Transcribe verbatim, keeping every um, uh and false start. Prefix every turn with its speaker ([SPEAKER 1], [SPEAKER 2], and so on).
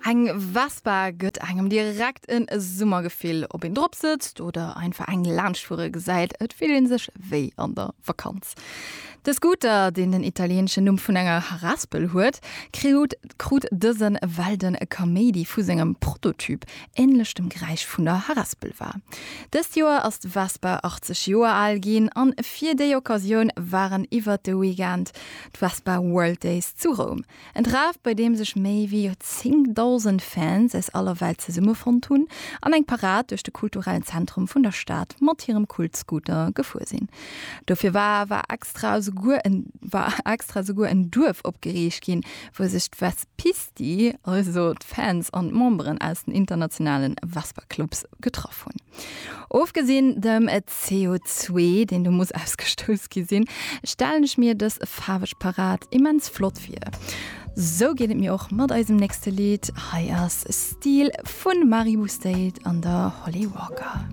[SPEAKER 1] Eng Vespa gëtt engem direkt en Summergefill, ob een drop sëtzt oder einfach eng laanschtfuere gesäit, et fillt een sech wéi an der Vakanz. De Scooter, deen den italieeneschen Numm vun enger Harespel huet, krut krut dësen well de Kaméidi vu sengem Prototyp änlech dem Geräisch vun der Harespel war. Dëst Joer ass d'Vespa achtzeg Joer al ginn an fir déi Occasioun waren iwwert de Weekend d'Vespa World Days zu Roum. En Treff, bei deem sech méi wéi zéngdausend Fans aus aller Welt zesummefonnt hunn an eng Parad duerch de kulturellen Zentrum vun der Stad mat hirem Kult-Scooter gefuer sinn. Dofir war war extra esouguer en war extra esouguer en Duerf opgeriicht ginn, wou sech d'Vespisti, also d'Fans an d'Memberen aus den internationalen Vespa-Clubs, getraff hunn. Ofgesinn dem C O zwee, deen do muss ausgestouss gi sinn, stellen ech mir dës faarweg Parad immens flott vir. Sou geet et mir och mat eisem nächste Lidd. Hei ass Steel vun Maribou State an der Holly Walker.